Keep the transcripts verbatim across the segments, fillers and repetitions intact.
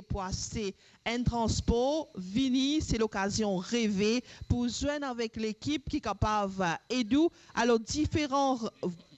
pou aste enn transpor, vini, se lokazion reve pou zwenn avek lekip ki kapav ed ou. Alor, diferan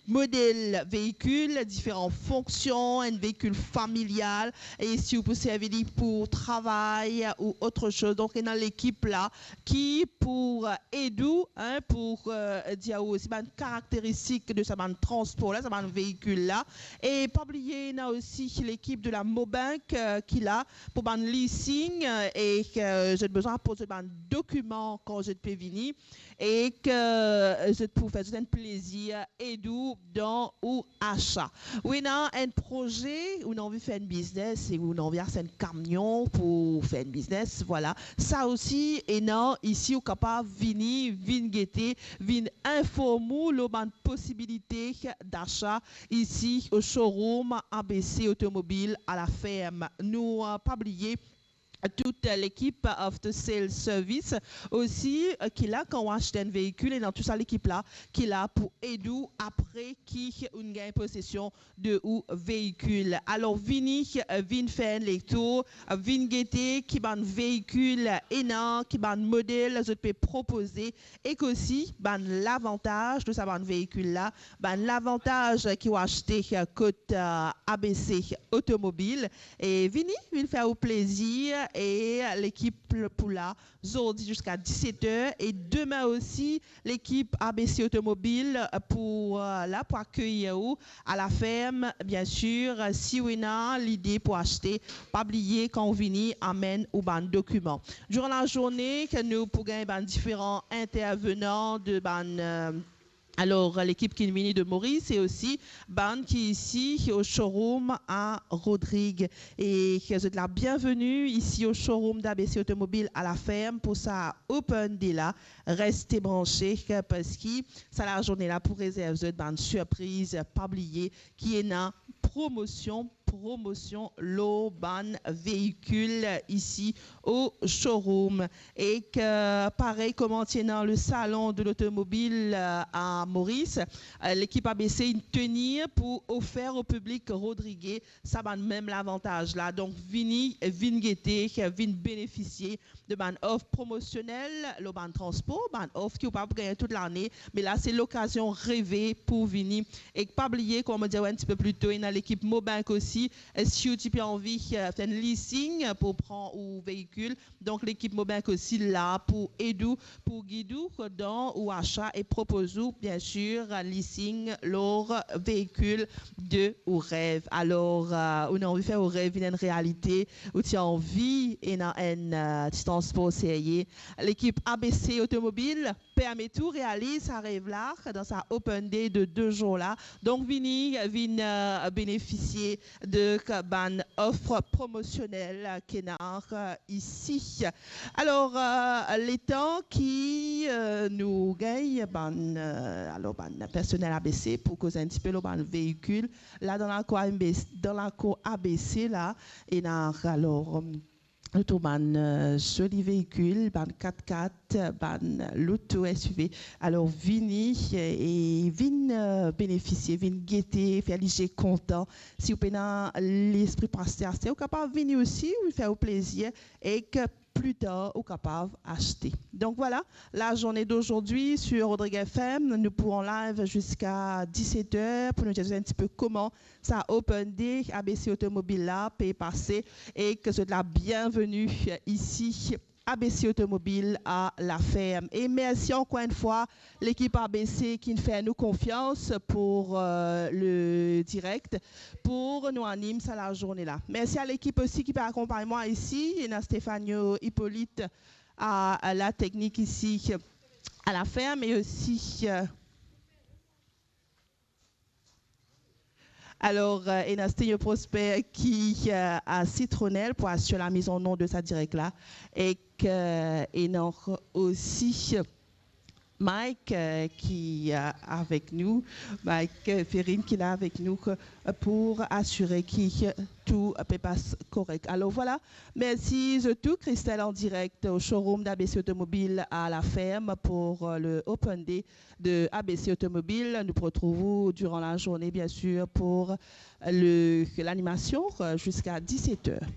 model veikil, diferan fonksion, enn veikil familial, e si ou pou servi li pou travay ou otre soz. Donk, ena lekip la ki pou ed ou, hein, pou, euh, dir ou osi bann karakteristik de sa bann transpor la, sa bann veikil la. E pa bliye, ena osi lekip de la Mobank, euh, ki la pou bann leasing, euh, e ki, euh, zot bizin aport zot bann dokiman kan zot pe vini, e ki, euh, zot pou fer zot enn plezir ed ou dan ou asa. Ou ena enn proze, ou ena anvi fer enn biznes, e ou ena anvi aste enn kamion pou fer enn biznes, vwala. Sa osi ena isi, ou kapav vini, vinn gete, vinn inform ou lor bann posibilite dasa isi o showroom A B C Automobile à la Ferme. Nou, euh, pa bliye tout, euh, lekip After Sales Service osi, euh, ki la kan ou aste enn veikil, e dan tou sa lekip la ki la pou ed ou apre ki ou'nn gagn posesion de ou veikil. Alor, vini, euh, vinn fer enn letour, euh, vinn gete ki bann veikil ena, ki bann model zot pe propoze, ek osi bann lavantaz de sa bann veikil la, bann lavantaz ki ou aste kot, euh, A B C Automobile. E vini, vinn fer ou plezir, e lekip pou la zordi ziska diset er, e demin osi, lekip A B C Automobile pou, euh, la pou akeyir ou à la Ferme, bien sir. Si ou ena lide pou aste, pa bliye, kan ou vini, amenn ou bann dokiman. Diran lazourne, ki nou pou gagn bann diferan intervenan de bann, euh, alor, lekip ki vini de Moris e osi bann ki isi o showroom a Rodrig. E zot la bienveni isi o showroom d'A B C Automobile à la Ferme pou sa Open Day la. Reste branche, parski sa lazourne la pou rezerv zot bann sirpriz. Pa bliye ki ena promosion, promosion lor bann veikil isi o showroom. Ek, euh, parey kouma ti ena le salon de l'automobile, euh, à Moris, euh, lekip A B C inn tenir pou ofer o piblik rodrige sa bann mem lavantaz la. Donk, vini, vinn gete, vinn benefisie de bann of promosionel lor bann transpor, bann of ki ou pa pou gagn tout lane, me la se lokazion reve pou vini. Ek pa bliye, kouma mo dir ou enn tipe pli to, ena lekip Mobank osi. Si ou ti pe anvi, euh, fer enn leasing pou pran ou veikil, donk lekip Mobank osi la pou ed ou, pou gid ou dan ou asa e propoz ou, bien sir, leasing lor veikil de ou rev. Alor, euh, ou ena anvi fer ou rev vinn enn realite, ou ti anvi ena enn, euh, ti transpor serye, lekip A B C Automobile permet ou realiz sa rev la dan sa Open Day de de zour la. Donk, vini, vinn, euh, benefisie de k-, bann of promosionel ki ena, euh, isi. Alor, euh, letan ki, euh, nou gagn bann, euh, alor, bann personel A B C pou koz enn tipe lor bann veikil, la dan lakour A B C, dan lakour A B C la, ena, alor, euh, nou trouv bann, euh, zoli veikil, bann kat-kat, bann loto, S U V. Alor, vini, euh, e vinn, euh, benefisie, vinn gete, fer lizie kontan. Si ou pena lespri pou aste, aste, ou kapav vini osi, ou fer ou plezir, ek pli tar ou kapav aste. Donk, vwala, lazourne d'aujourd'hui sur Rodrigues F M, nou pou an live ziska diset er pou nou dir zot enn tipe kouma sa Open Day A B C Automobile la pe pase, e ki zot la bienveni isi, A B C Automobile à la Ferme. E mersi ankor enn fwa lekip A B C ki fer nou konfians pou, euh, le direk, pou nou anim sa lazourne la. Mersi a lekip osi ki pe akonpagn mwa isi, ena Stefano Hippolyte a, a la teknik isi à la Ferme, e osi, euh, alor, euh, ena Sténio Prosper ki, euh, a Citronelle pou asir la mise en onde de sa direk la, ek, euh, ena osi Mike, euh, ki, euh, avek nou, Mike, euh, Ferrine ki la avek nou, euh, pou asire ki, euh, tou pe pas korek. Alor, vwala, mersi zot tou. Christelle en direct au showroom d'A B C Automobile à la Ferme pour, euh, le Open Day de A B C Automobile. Nou pou retrouv ou durant la journée, bien sûr, pour le, l'animation, euh, jusqu'à dix-sept heures.